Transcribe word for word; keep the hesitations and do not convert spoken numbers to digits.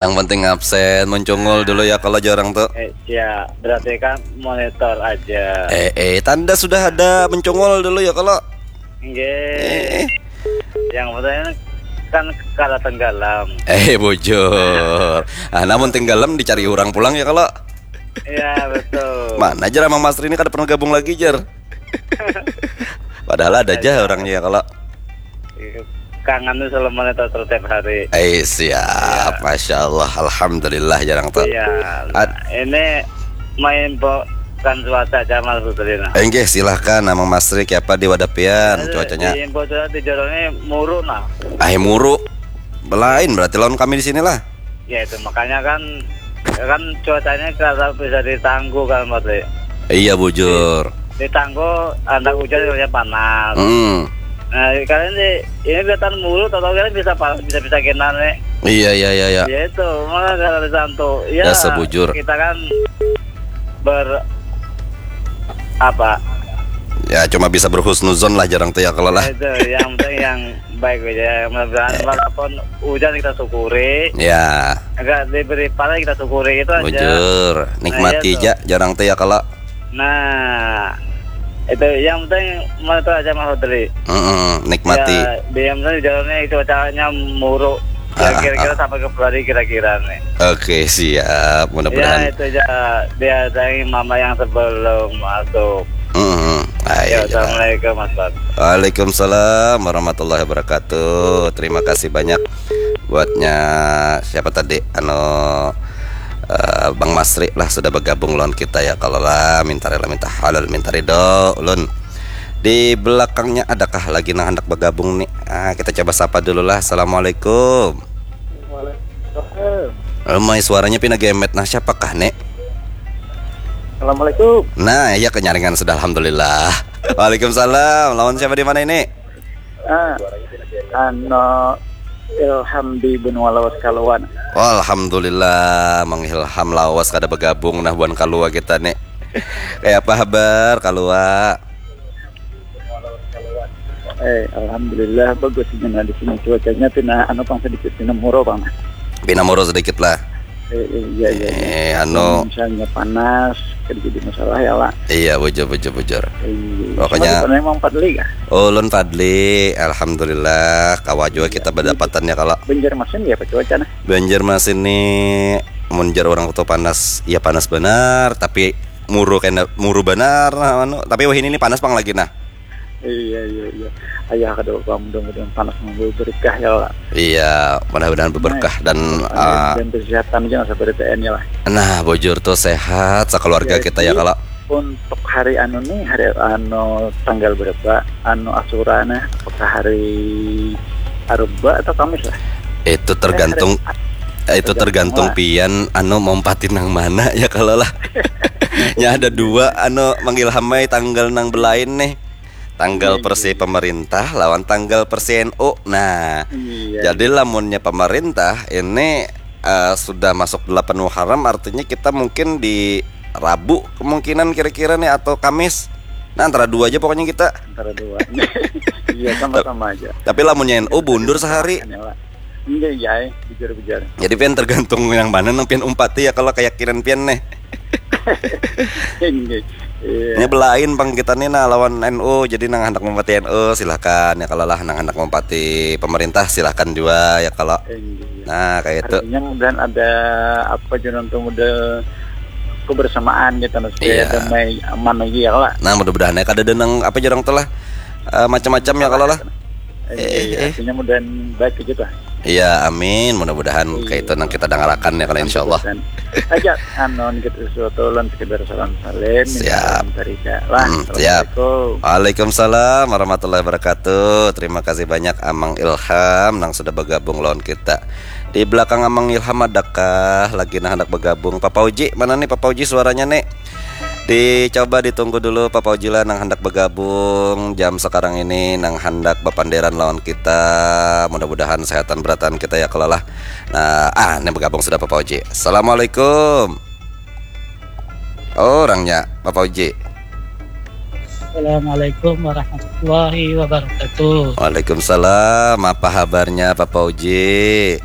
Yang penting absen, mencungul dulu ya kalau jarang tuh. Eh, ya, berarti kan monitor aja. Eh, eh, tanda sudah ada mencungul dulu ya kalau. Nggih. Eh. Yang penting kan kada tenggelam. Eh, bujur. Ah, namun tenggelam dicari orang pulang ya kalau. Iya, betul. Mana aja Amang Masri ini kada pernah gabung lagi, jer. Padahal ada aja orangnya kalau. Kangen tuh selalu monitor tiap hari. Eh, siap. Ya. Masya Allah, alhamdulillah jarang tuh. Iya. Ad- ini main po kan cuaca aja malam Putri nah. Enggih, silahkan Amang Masri, kiapa di wadah pian cuacanya? Di info cuaca di Joro ini muru nah. Ah, muru. Belain berarti lawan kami di sinilah. Ya itu makanya kan kan cuacanya kalau bisa ditangguh kan Putri. Iya bujur. Ditangguh anak hujan kerja panas. Hmm. Nah, kalian sih ini kelihatan mulu, tau kalian bisa panas, bisa bisa kena nih. Iya, iya, iya, iya. Ya itu, maka kalau disantu. Ya, dasar bujur. Kita kan ber apa? Ya cuma bisa berhusnuzon lah jarang tuh ya kalau lah. Ya, itu yang penting yang baik aja. Mudah-mudahan walaupun hujan kita syukuri. Ya. Agak diberi panas kita syukuri itu aja. Bujur. Nikmati aja jarang tuh ya kalau. Nah, itu yang penting monitor aja Mas Fadli. Mm-mm, nikmati. Ya, di yang penting jalannya itu caranya muruk. Ya, kira-kira sampai ke Februari kira-kira nih. Oke, siap. Mudah-mudahan. Ya, itu aja diadain mama yang sebelum masuk. Mm-mm. Ah, iya, ya, assalamualaikum Mas Fadli. Waalaikumsalam warahmatullahi wabarakatuh. Terima kasih banyak buatnya siapa tadi anu eh, Bang Masri lah sudah bergabung lawan kita ya kalau lah minta rela minta halal minta ridho ulun di belakangnya adakah lagi nang hendak bergabung nih ah, kita coba sapa dulu lah assalamualaikum Waalaikumsalam. Ramai suaranya pina gemet nah siapakah nek Assalamualaikum. Nah ya kenyaringan sudah alhamdulillah Waalaikumsalam lawan siapa di mana ini Ah, ano Ilham di benua lawas kaluan. Alhamdulillah, Mang Ilham lawas kada bergabung nah buan kalua kita nih. Kayak apa habar kalua? Eh, alhamdulillah bagus ini nah di sini cuacanya pina anu pang sedikit pina muro pang. Pina muro sedikit lah. Eh, eh, iya, iya, iya. Eh, anu. Misalnya panas, kan jadi masalah ya lah. Iya, bujur, bujur, bujur. Iya. Pokoknya. Siapa memang Fadli kah? Ulun Fadli, alhamdulillah, kawa juga kita berdapatan ya kalau. Banjarmasin ya apa cuaca nah? Banjarmasin ini mun jar orang tuh panas, ya panas benar, tapi muru kena muru benar nah anu, tapi wahini ini panas pang lagi nah. Iya, iya, iya. Ayah kada apa mudah-mudahan panas membawa berkah ya lah. Iya, mudah-mudahan berberkah dan uh, dan kesehatan aja nggak sabar T N ya lah. Nah, bujur tuh sehat sekeluarga ya, kita ya kalau. Untuk hari anu nih, hari anu tanggal berapa? Anu asura nih, apakah hari Arba atau Kamis lah? Itu tergantung eh, hari, itu tergantung, tergantung pian anu mau nang mana ya kalau lah. Ya ada dua anu manggil hamai tanggal nang belain nih. Tanggal iya, persi iya. Pemerintah lawan tanggal persi N U. Nah, iya, jadi iya. Lamunnya pemerintah ini uh, sudah masuk delapan Muharram artinya kita mungkin di Rabu kemungkinan kira-kira nih atau Kamis. Nah, antara dua aja pokoknya kita. Antara dua. Iya, sama-sama aja. Tapi lamunnya N U mundur sehari. Iya, iya, bujur-bujur. Jadi pian tergantung yang mana nang pian umpati ya kalau keyakinan pian nih. Ini belain bang kita nih nah lawan N U jadi nang hendak mempati N U silahkan ya kalau lah nang hendak mempati pemerintah silahkan juga ya kalau nah kayak itu. Artinya mudahan ada apa juga untuk model kebersamaan gitu nah, supaya iya. Damai aman lagi ya kalau. Nah mudah-mudahan ya kada ada nang apa jarang telah uh, macam-macam ya kalau lah. Eh, eh, eh. Artinya mudahan baik gitu lah. Iya, amin. Mudah-mudahan iya. Kayak itu nang kita dangarakan ya kalau insya Allah. Aja, anu kita sesuatu lan sekedar salam salim. Siap. Lah, hmm, siap. Waalaikumsalam warahmatullahi wabarakatuh. Terima kasih banyak Amang Ilham nang sudah bergabung lawan kita. Di belakang Amang Ilham adakah lagi nah hendak bergabung? Papa Uji, mana nih Papa Uji suaranya nih? Dicoba ditunggu dulu Papa Uji lah nang hendak bergabung jam sekarang ini nang hendak berpanderan lawan kita. Mudah-mudahan sehatan beratan kita ya kalau lah. Nah, ah ini bergabung sudah Papa Uji. Assalamualaikum. Oh, orangnya Papa Uji. Assalamualaikum warahmatullahi wabarakatuh. Waalaikumsalam. Apa kabarnya Papa Uji?